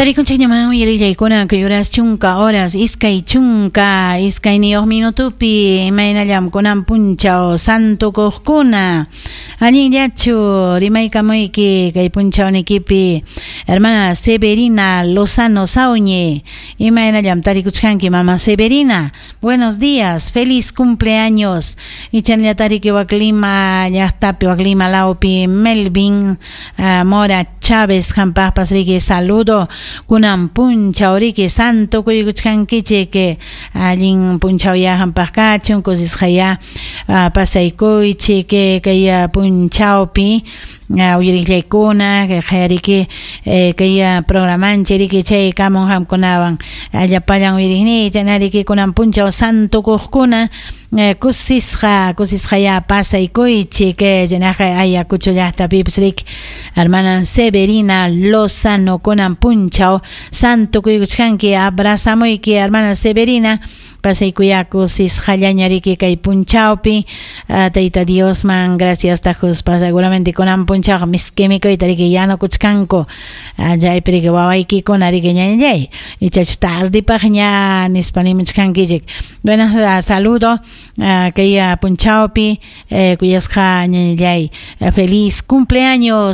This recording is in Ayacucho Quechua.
Tarikunchikñaman uyarillaykuna kay horas chunka horas 22 minutupi imaynallam kunan punchaw santukuqkuna allinllachu rimaykamuyki kay punchawnikipi hermana Severina Lozano Sauñe imaynallam tarikuchkanki mama Severina. Buenos días, feliz cumpleaños. Ichanllatariki Waklima llaqtapi Waklima lawpi Melvin Mora Chávez hampaqpas riki saludo. Kunan punchaw riki santo kuykuchkankichik allin punchaw ya hampaq kachun kusisqaya pasaykuychik kay punchawpi uyariqllaykuna kay kay programanchik riki chay kamun hamkunawan llapallan uyariqniy chaynariki kunan punchaw santukuqkuna kusisqa kusisqaya pasaykuychik chaynaqa Ayacucho llaqtapipas riki hermana Severina Lozano kunan punchaw santo kuykuchkanki abrazamuyki hermana Severina pasaykuya kusisqallaña riki kay punchawpi Tayta Diosman gracias tajuspa seguramente kunan punchawqa miski mikuyta riki yanukuchkanku chaypi riki wawaykikuna riki ñañallay ichachu tardipaqña nispa nimuchkankichik. Bueno, saludo kay punchawpi kuyasqa ñañallay feliz cumpleaños.